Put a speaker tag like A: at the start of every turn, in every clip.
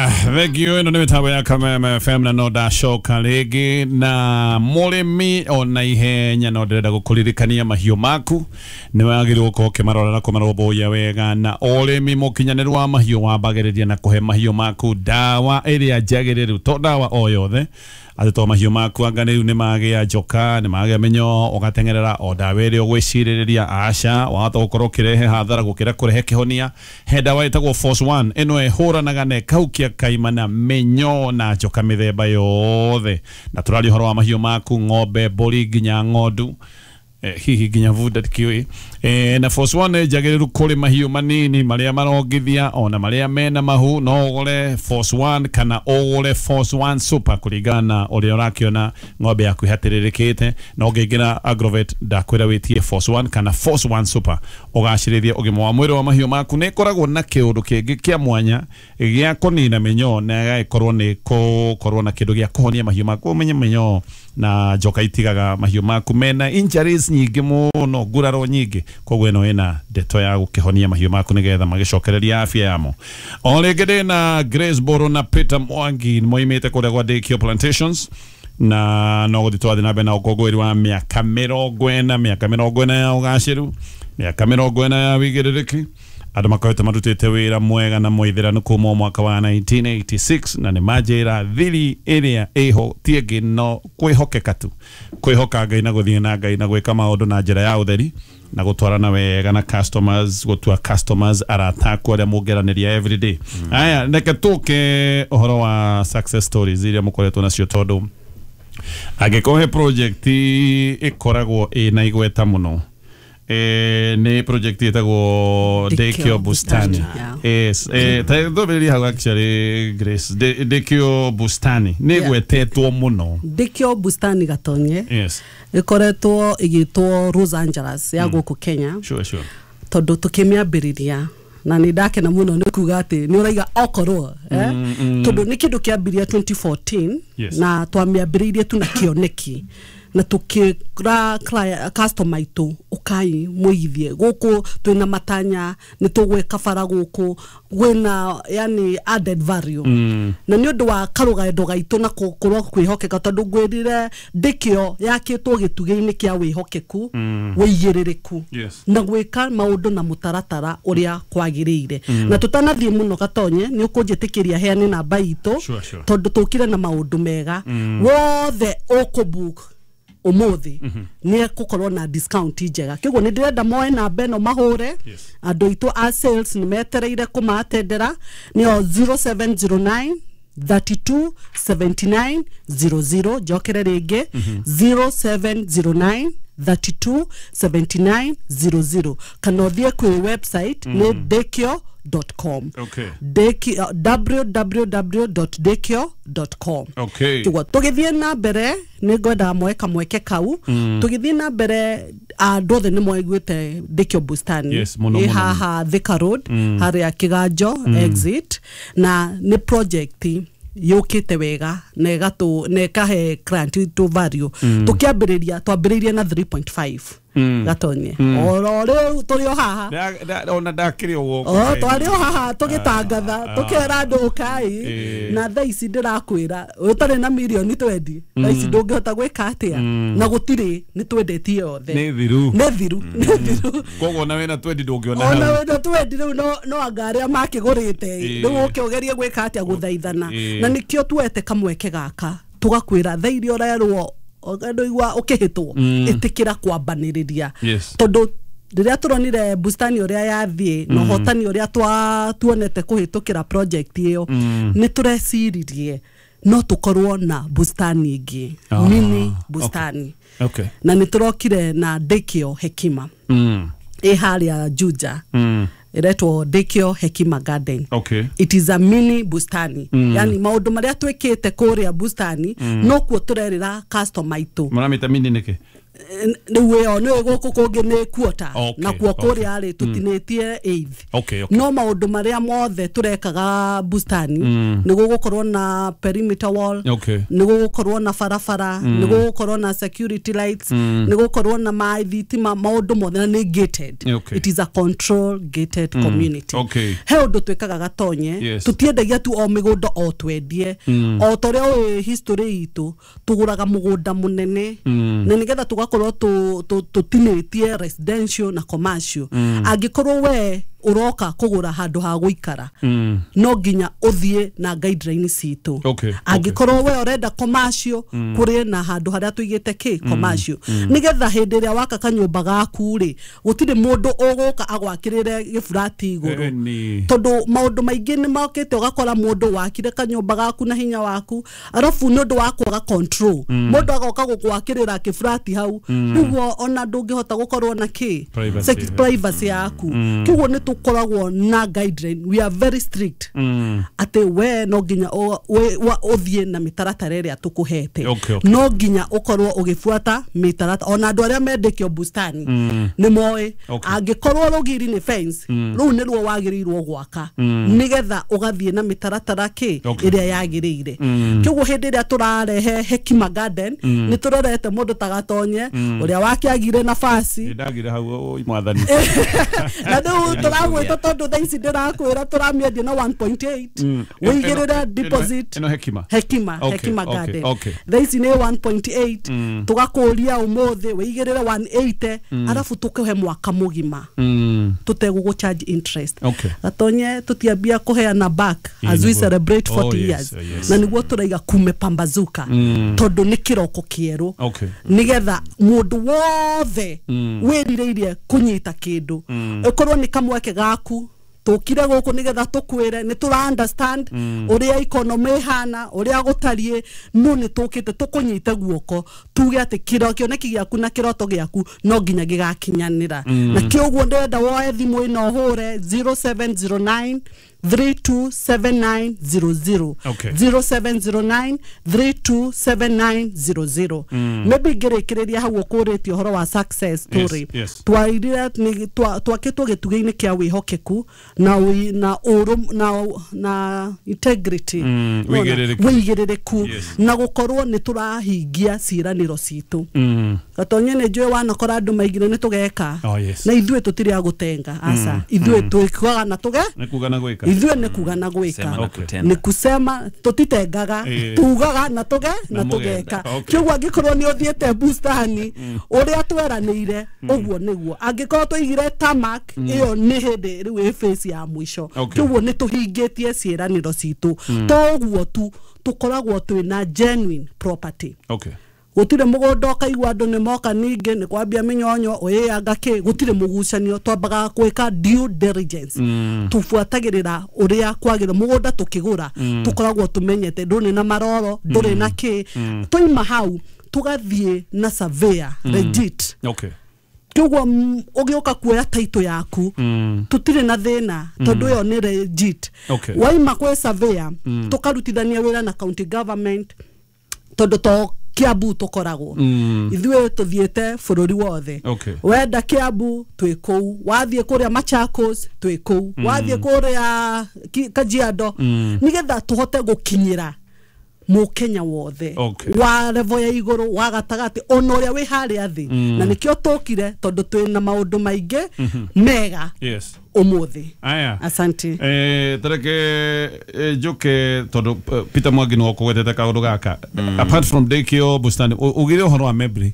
A: Aya, thank you. Ĩno nĩ mĩtambo ya Kameme FM na no ndacoka rĩngĩ na mũrĩmi ona ihenya no ndĩrenda gũkũririkania mahiũ maku nĩ wagĩrĩirwo gũkorwo ũkĩmarora na kũmarũmbũiya wega, na ũrĩmi mũkinyanĩru wa mahiũ wambagĩrĩria na kũhe mahiũ maku ndawa ĩrĩa njagĩrĩru, to ndawa o yothe atĩ to mahiũ maku anga rĩu nĩ magĩa njoka, nĩ magĩa mĩnyoo, ũgateng'erera o ndawa ĩrĩa ũgwĩcirĩrĩria. Aca, wahota gũkorwo ũkĩrehe hathara gũkĩra kũrehe kĩhonia. He ndawa ĩtagwo Force One, ĩno ĩhũranaga na ĩkahukia kaimana mĩnyoo na njoka mĩthemba yothe, na tũraria ũhoro wa mahiũ maku, ng'ombe, mbũri, nginya ng'ondu, hihi nginya bunda ndikiũĩ. Na Force One nĩ njagĩrĩru kũrĩ mahiũ manini marĩa marongithia ona marĩa mena mahu. No ũgũre Force One kana ũgũre Force One Super kũringana na ũrĩa ũrakĩona ng'ombe yaku ĩhatĩrĩrĩkĩte. Na ũngĩingĩra Agrovet, ndakwĩra wĩtie Force One kana Force One Super ũgacĩrĩrie ũgima wa mwĩrĩ wa mahiũ maku. Nĩ ĩkoragwo na kĩũndũ kĩngĩ kĩa mwanya gĩa kũnina mĩnyoo na ĩgagĩkorwo nĩ kũkorwo na kĩndũ gĩa kũhonia mahiũ maku. Ũmenye mĩnyoo na njoka itigaga mahiũ maku mena injuries nyingĩ mũno, nguraro nyingĩ, koguo ĩno ĩna ndeto ya gũkĩhonia mahiũ maku nĩgetha magĩcokereria afya yamo. O rĩngĩ ndĩna Grace Boro na Peter Mwangi, moimĩte kũrĩa gwa Daycare Plantations, na no gũthiĩ twathiĩ na mbere na ũkũngũĩri wa mĩaka 40, mĩaka 40 ya ũgacĩru, mĩaka 40 ya wĩigĩrĩrĩki. Andũ makoretwo marutĩte wĩra mwega na mũithĩranu kuma mwaka wa 1986, na nĩ manjĩra thiri ĩrĩa ĩho ti ĩngĩ no kwĩhokeka tu, kwĩhoka Ngai na gũthiĩ na Ngai na gwĩka maũndũ na njĩra ya ũtheri na gũtwarana wega na customers, gũtua customers arata aku arĩa mũngeranĩria everyday. Aya, reke tũke ũhoro wa success stories iria mũkoretwo nacio, tondũ angĩkorwo he project ĩkoragwo ĩna igweta mũno, nĩ project ĩtagwo Daycare Bustani. Yes, ta thomĩrĩria hau actually, Grace. Daycare Bustani nĩ ĩgwetetwo mũno.
B: Daycare Bustani, Gatonye, ĩkoretwo ĩgĩtwo Los Angeles ya gũkũ Kenya, tondũ tũkĩmĩambĩrĩria, na nĩ ndakena mũno nĩ kuga atĩ nĩ ũraiga okorwo tondũ nĩ kĩndũ kĩambirie 2014, na twamĩambĩrĩirie tu na kĩoneki na tukĩra customer aitũ, ũkai mũigithie gũkũ, twĩna matanya nĩ tũgwĩka bara gũkũ gwĩna yani added value. Na nĩ ũndũ wa karũgendo gaitũ na gũkorwo kwĩhokeka, tondũ ngwĩrire ndĩkĩo yakĩtwo gĩtugĩ-inĩ kĩa wĩhokeku, wĩigĩrĩrĩku na gwĩka maũndũ na mũtaratara ũrĩa kwagĩrĩire. Na tũtanathiĩ mũno, Gatonye, nĩ ũkũnjĩtĩkĩria heane namba itũ, tondũ tũkire na maũndũ mega. Wothe ũkũbook ũmũthĩ nĩ ekũkorwo na discount njega, kĩguo nĩ ndĩrenda moe namba ĩno mahũre. Andũ aitũ a sales nĩ metereire kũmatendera, nĩyo 0709 32 79 00. Njokere rĩngĩ, 0709 32 79 00, kana ũthiĩ kwĩ website nĩ dekio.com. Dekio, www.dekio.com. Kĩguo tũgĩthiĩ na mbere nĩ ngwendaga moe kamweke kau. Tũgĩthiĩ na mbere, andũ othe nĩ moiguĩte Daycare Bustani
A: Yes, mũno,
B: ĩ haha Thika Road, harĩa Kĩganjo exit, na nĩ project yũkĩte wega na ĩgatũ na ĩkahe client witũ value. Tũkĩambĩrĩria twambĩrĩirie na 3.5, Gatonye, oro rĩu tũrĩ o haha.
A: Ona ndakĩrĩ o gũkũ.
B: O twarĩ o haha tũgĩtangatha, tũkera andũ ũkai, na thaa ici ndĩrakwĩra ũtarĩ na mirioni 20 thaa ici ndũngĩhota gwĩka atĩa, na gũtirĩ, nĩ twendetie othe.
A: Nĩ thiru.
B: Nĩ thiru, nĩ thiru.
A: Koguo ona wĩna 20 ndũngĩona
B: ona
A: hau.
B: Wĩna 20 rĩu no anga arĩa makĩgũrĩte rĩu ũke ũgerie gwĩka atĩa, gũthaithana. Na nĩkĩo tuete kamweke gaka tũgakwĩra thaa iria ũrerwo ndũigua ũkĩhĩtwo, ĩtĩkĩra kwambanĩrĩria, tondũ rĩrĩa tũronire bustani ũrĩa yathiĩ na ũhotani ũrĩa tuonete kũhĩtũkĩra project ĩyo, nĩ tũreciririe no tũkorwo na bustani ĩngĩ, mini bustani, na nĩ tũrokire na Daycare Hekima ĩ harĩa Juja, ĩretwo Daycare Hekima Garden. It is a mini bustani, yani maũndũ marĩa twĩkĩte kũrĩa bustani nokuo tũrerĩra customer aitũ.
A: Mũramĩta mini nĩkĩ?
B: Rĩu ĩyo nĩ gũkũ kũngĩ nĩ quarter na kuo kũrĩa rĩ tũtinĩtie eighth. No maũndũ marĩa mothe tũrekaga bustani nĩ gũgũkorwo na perimeter wall, nĩ gũgũkorwo na barabara, nĩ gũgũkorwo na security lights, nĩ gũgũkorwo na maĩ, thitima, maũndũ mothe, na nĩ gated. It is a control gated community. He ũndũ twĩkaga Gatonye, tũtiendagia tu o mĩgũnda o twendie, o ta ũrĩa ũĩ history itũ tũgũraga mũgũnda mũnene na nĩgetha tũgakorwo tũtinĩtie residential na commercial. Angĩkorwo we uroka kugura handu ha guikara, no nginya uthie na guideline citu. Angikorwo we urenda commercial, kuri na handu haria tuigite ki commercial, nigetha hindi ria waka kanyumba gaku ri gutiri mundu uguka agwakirire gifurati iguru, tondu maundu maingi ni mokite ugakora mundu wakire kanyumba gaku na hinya waku, arafu ni undu wa kwaga control, mundu agoka gugwakirira gifurati hau, niguo ona ndungihota gukorwo na ki privacy yaku. Kiguo ni tukoragwo na guideline, we are very strict ati we no nginya uthie na mitaratara ĩrĩa tukuhete, no nginya ukorwo ugibuata mitaratara. Ona andu aria mendekio bustani ni moĩ, angikorwo rugiri ni fence, ruu ni ruo wagĩrĩirwo gwaka nigetha ugathie na mitaratara ki ĩrĩa yagĩrĩire. Kĩguo hĩndĩ ĩrĩa tũrarehe Hekima Garden ni tũrorete mũndũ ta Gatonye ũrĩa wakĩagire nafasi
A: ndagire hau mwathani
B: na rĩu tũragwĩta tondũ thaa ici ndĩrakwĩra tũramĩendia na 1.8 wĩigĩrĩre deposit
A: ĩno Hekima Hekima
B: Garden thaa ici nĩ 1.8 tũgakũria ũmũthĩ wĩigĩrĩre 180 arabu tũkũhe mwaka mũgima tũtegũgũ charge interest. Gatonye tũtiambia kũheana back as we celebrate 40 years, na nĩguo tũraiga kumepambazuka tondũ nĩ kĩroko kĩerũ, nĩgetha mũndũ wothe wĩrirĩirie kũnyita kĩndũ ĩkorwo nĩ kamweke gaku tukire guku nigetha tukwire ni tura understand uria economy ihana uria gutarie, no ni tukite tukunyite guoko tuge ati kiro kioneki giaku na kiroto giaku no nginya gigakinyanira. Na kioguo ndenda woe thimu ino hure 0709 327900 0709 327900. Maybe ngirikiriria hau ukuritie uhoro wa success story. Twairire twakitwo gitugi-ini kia wihokeku na na na integrity, wigiririku, na gukorwo ni turahingia ciraniro citu. Gatonye ni njui wanakora andu maigire ni tugeka na ithuĩ tutiri a gutenga aca, ithuĩ twikuaga na tuge
A: ni kuga na gwika,
B: ithuĩ ni kuga na gwika, ni kusema tutitengaga, tugaga na tuge na tugeka. Kĩguo angĩkorwo nĩ ũthiĩte bustani ũrĩa tweranĩire ũguo nĩguo, angĩkorwo tũigire tamak ĩyo nĩ hĩndĩ rĩu ĩ face ya mũico. Kĩguo nĩ tũhingĩtie ciĩranĩro citũ, to ũguo tu tũkoragwo twĩna genuine property. Gutire mugunda ukaigua andu ni moka ningi ni kwambia minyonyo uiyanga ki, gutire mugucanio, twambaga gwika due diligence, tubuatagirira uria kwagira mugunda tukigura, tukoragwo tumenyete nduri na maroro nduri na ki, twaima hau tugathie na surveyor legit. Kĩguo ũgĩũka kuoya title yaku tutire na thĩna tondũ ĩyo nĩ legit. Waima kwĩ surveyor tukarutithania wĩra na county government tondũ to Kiambu tukoragwo ithuĩ tuthiĩte bũrũri wothe. Wenda Kiambu twĩ kũu, wathiĩ kũrĩa Machakos twĩ kũu, wathiĩ kũrĩa Kajiado, nĩgetha tũhote gũkinyĩra Mũkenya wothe wa level ya igũrũ wa gatagatĩ ona ũrĩa wĩ harĩa thĩ. Na nĩkĩo tũkire tondũ twĩna maũndũ maingĩ mega ũmũthĩ. Asante.
A: Tareke njuke tondũ Peter Mwangi nĩwe ũkũgwetete kaũndũ gaka. Apart from Ndĩkio Bustani, ugire ũhoro wa Membri.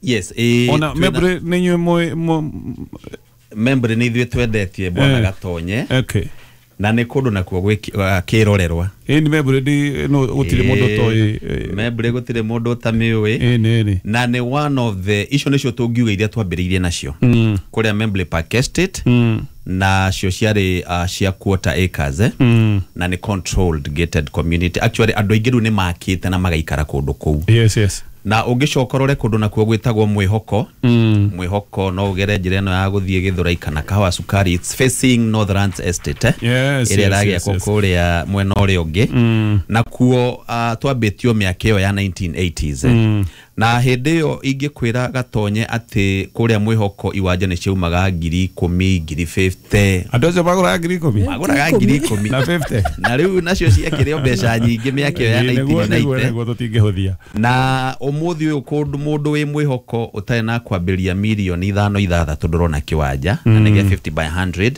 C: Yes,
A: ona Membri nĩ inyuĩ
C: Membri nĩ ithuĩ twendetie bwana Gatonye. Na nĩ kũndũ nakuo kĩrorerwa.
A: Ĩni Membri ndi no gũtirĩ mũndũ ũtoĩ.
C: Membri gũtirĩ mũndũ ũtamĩũĩ.
A: Ĩni.
C: Na nĩ one of the icio nĩcio tũngiuga iria twambĩrĩirie nacio. Kũrĩa Membri Park Estate na cio ciarĩ cia quarter acres, na nĩ controlled gated community. Actually andũ aingĩ rĩu nĩ makĩte na magaikara kũndũ kũu.
A: Yes.
C: Na ũngĩcoka ũrore kũndũ nakuo gwĩtagwo Mwĩhoko. Mwĩhoko no ũgere njĩra ĩno ya gũthiĩ Gĩthũrai kana Kahawa Sukari, it's facing Northlands Estate, ĩrĩa ĩragĩakwo kũrĩa mwena ũrĩa ũngĩ. Nakuo twambĩtio mĩaka ĩyo ya 1980s. Na hĩndĩ ĩyo ingĩkwĩra Gatonye atĩ kũrĩa Mwĩhoko iwanja nĩ ciaumaga 10,000, 50,000.
A: Andũ acio magũraga 10,000?
C: Magũraga 10,000
A: na 50.
C: Na rĩu nacio ciakĩrĩ o mbeca nyingĩ mĩaka ĩyo ya 1990.
A: Nĩguo tũtingĩhũthia.
C: Na ũmũthĩ ũyũ kũndũ mũndũ wĩ Mwĩhoko ũtarĩ na kwambĩrĩria 5,600,000 ndũrona kĩwanja, na nĩ gĩa 50 by 100.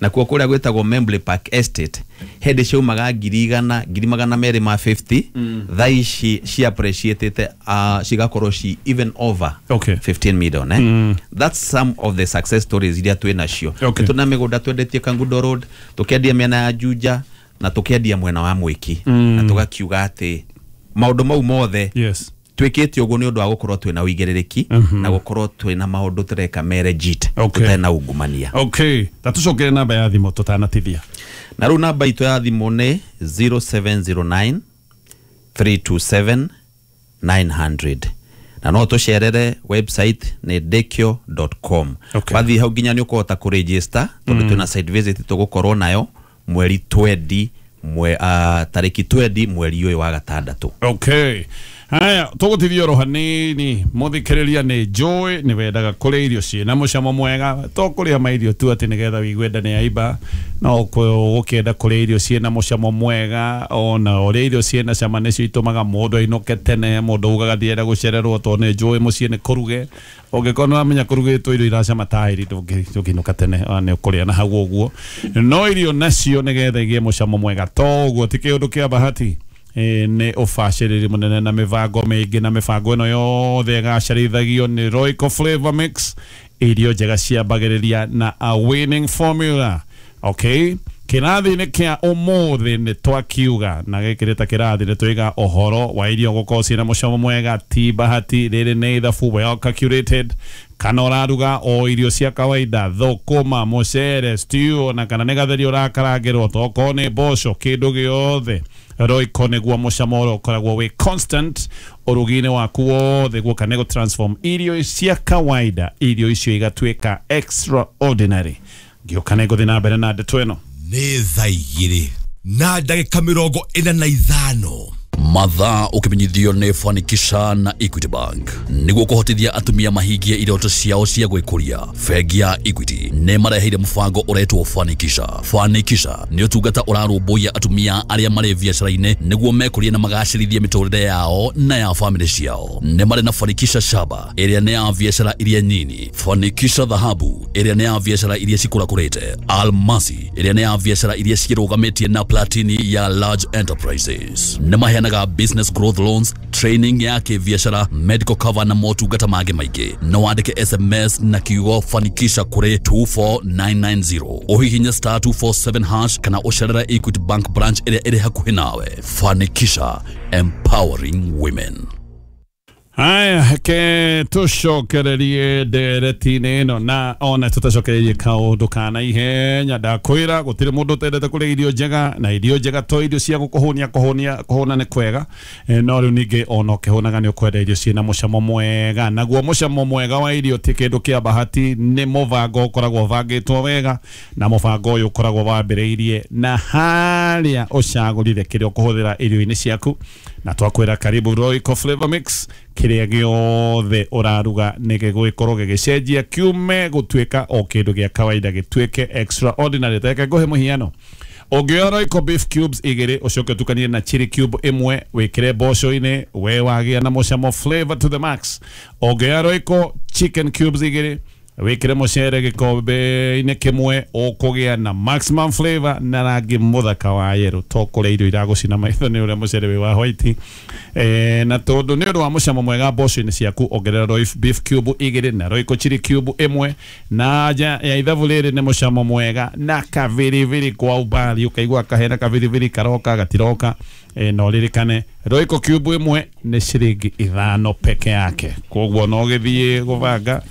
C: Nakuo kũrĩa gwĩtagwo Membley Park Estate hĩndĩ ciaumaga 100,000, 250,000. Thaa ici ci appreciated cigakorwo ci even over 15 million. That's some of the success stories iria twĩ nacio. Tuna mĩgũnda twendetie Kangundo Road, tũkĩendia mĩena ya Juja na tũkĩendia mwena wa Mwĩki, na tũgakiuga atĩ maũndũ mau mothe twĩkĩte ũguo nĩ ũndũ wa gũkorwo twĩna ũigĩrĩrĩki na gũkorwo twĩna maũndũ tũreka me legit, tũtarĩ na ungumania.
A: Okay, ta tũcokere namba ya thimũ tũtanatithia.
C: Na rĩu namba itũ ya thimũ nĩ 0709 327 900. Na no tũcerere website nĩ dekio.com. Wathiĩ hau nginya nĩ ũkũhota kũregister, tondũ twĩna site visit tũgũkorwo nayo mweri 20 tarĩki 20 mweri ũyũ wa gatandatũ.
A: Okay. Haya, tũgũtithia oro hanini. Mũthikĩrĩria nĩ njũĩ nĩ wendaga kũrĩa irio ciĩna mũcamo mwega, to kũrĩa mairio tu atĩ nĩgetha wĩigue nda nĩ yaimba, no ũkĩenda kũrĩa irio ciĩna mũcamo mwega. Ona ũrĩa irio ciĩna cama nĩcio itũmaga mũndũ ainũke tene, mũndũ ugaga ndienda gũcererwo tondũ nĩ njũĩ mũciĩ nĩ kũruge. Ũngĩkorwo nĩ wamenya kũrugĩtwo irio iracama ta iri ndũngĩinũka tene, nĩ ũkũrĩa na hau ũguo. No irio nacio nĩgetha igĩe mũcamo mwega to ũguo ti kĩũndũ kĩa bahati. Nĩ ũbacĩrĩri mũnene na mĩbango mĩingĩ, na mĩbango ĩno yothe ĩgacarithagio nĩ Royco Flavor Mix. Irio njega ciambagĩrĩria na a winning formula. Okay, kĩrathi-inĩ kĩa ũmũthĩ nĩ twakiuga, na gĩkĩ nĩ ta kĩrathi nĩ twaiga ũhoro wa irio gũkorwo ciĩna mũcamo mwega, ti bahati, rĩrĩ nĩ ithabu well calculated. Kana ũraruga o irio cia kawaida, thũkũma, mũcere, stew, na kana nĩ gatheri ũrakarangĩrwo, tokorwo nĩ mboco, kĩndũ gĩothe Royco nĩguo mũcamo ũrĩa ũkoragwo wĩ constant ũrugi-inĩ waku wothe, guoka nĩ gũ-transform irio cia kawaida, irio icio igatuĩka extraordinary. Ngĩũka nĩ ngũthiĩ na mbere na ndeto ĩno.
D: Nĩ thaa 2:45.
E: Mathaa ũkĩmenyithio nĩ Fanikisha na Equity Bank nĩguo kũhotithia atumia mahingie iroto ciao cia gwĩkũria. Bengi ya Equity nĩ mareheire mũbango ũretwo Fanikisha. Fanikisha nĩ ũtungata ũrarũmbũiya atumia arĩa marĩ biacara-inĩ nĩguo mekũrie na magacĩrithie mĩtũrĩre yao na ya famĩlĩ ciao. Nĩ marĩ na Fanikisha Shaba ĩrĩa nĩ ya biacara iria nyini, Fanikisha Dhahabu ĩrĩa nĩ ya biacara iria cikũrakũrĩte, Almasi ĩrĩa nĩ ya biacara iria cirũgamĩtie na Platini ya large enterprises. Nĩ maheanaga business growth loans, training ya kĩbiacara, medical cover na motungata mangĩ maingĩ. No wandĩke SMS na kiugo Fanikisha kũrĩ 24990, ũhihinye star 247 hash kana ũcerere Equity Bank branch ĩrĩa ĩrĩ hakuhĩ nawe. Fanikisha, empowering women.
A: Haya, ke tũcokererie ndereti-inĩ ĩno, na ona tũtacokererie kaũndũ ka naihenya. Ndakwĩra gũtirĩ mũndũ ũtendete kũrĩa irio njega, na irio njega to irio cia gũkũhũnia, kũhũnia kũhũna nĩ kwega, no rĩu ningĩ ona ũkĩhũnaga nĩ ũkwenda irio ciĩna mũcamo mwega. Naguo mũcamo mwega wa irio ti kĩndũ kĩa bahati, nĩ mũbango ũkoragwo ũbangĩtwo wega, na mũbango ũyũ ũkoragwo wambĩrĩirie na harĩa ũcagũrire kĩrĩa ũkũhũthĩra irio-inĩ ciaku. Na twakwĩra karibu Royco Flavor Mix, kĩrĩa gĩothe ũraruga nĩ gĩgũgĩkorwo gĩgĩcenjia kiume gũtuĩka o kĩndũ gĩa kawaida gĩtuĩke extraordinary. Reke ngũhe mũhiano. Ũngĩoya Royco beef cubes 2 ũcoke ũtukanie na chili cube 1 wĩkĩre mboco-inĩ, we wagĩa na mũcamo flavor to the max. Ũngĩoya Royco chicken cubes 2 wĩkĩre mũcere gĩkombe-inĩ kĩmwe, ũkũgĩa na maximum flavor na rangi mũthaka wa yellow, to kũrĩa irio iragũcina maitho nĩ ũrĩa mũcere wĩ wa white. Na tondũ nĩ ũndũ wa mũcamo mwega mboco-inĩ ciaku, ongerera Royco beef cube 2 na Royco chili cube 1, na nja ya ithabu rĩrĩ nĩ mũcamo mwega na kabiribiri kwa umbali, ũkaigua kahena kabiribiri karoka gatiroka. No ririkane Royco cube 1 nĩ ciringi 5 peke yake, koguo no gĩthiĩ gũbanga.